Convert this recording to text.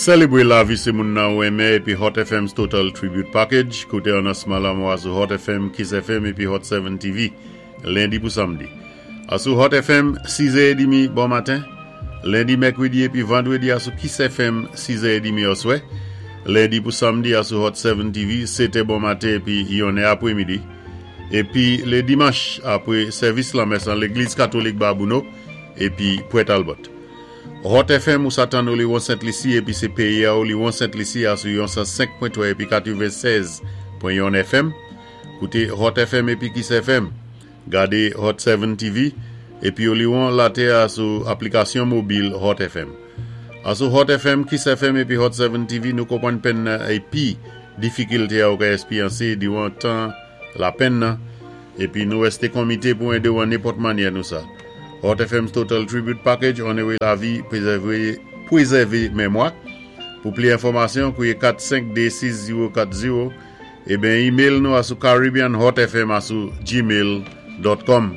Selébwé lavi sé moun nan ou enmen épi Hot FM's Total Tribute Package, kouté anonsman lanmò a sou Hot FM, Kiss FM épi Hot 7 TV, lendi pou samdi. A sou Hot FM, 6 è édmi bon maten, lendi, mèkwédi épi vandwédi a sou Kiss FM, 6 è édmi oswè, lendi pou samdi a sou Hot 7 TV, 7 è bon maten épi 1 è apwémidi, épi lé dimanch apwé sèvis lanmès an légliz katolik Babouno épi Pwè Talbot. Hot FM ou sa tann Oliwon Sent Lisi épi sé péyi a Oliwon Sent Lisi a sou yon 105.3 épi 96.1 FM. Kouté Hot FM épi Kiss FM. Gadé Hot 7 TV épi Oliwon latè a sou aplikasyon mobil Hot FM. A sou Hot FM, Kiss FM épi Hot 7 TV nou konpwann penn nan épi difikilté a ou ka èspéryansé diwan tan lapenn nan épi nou wèsté konmité pou édé ou an nenpòt mannyè nou sa. Hot FM's Total Tribute Package onoré lavi, pwézèvé, pwézèvé mémwa. Pou pli enfòmasyon, kouwé 4 5 2 6 0 4 0 é ben email nou a sou caribbeanhotfm a sou gmail.com.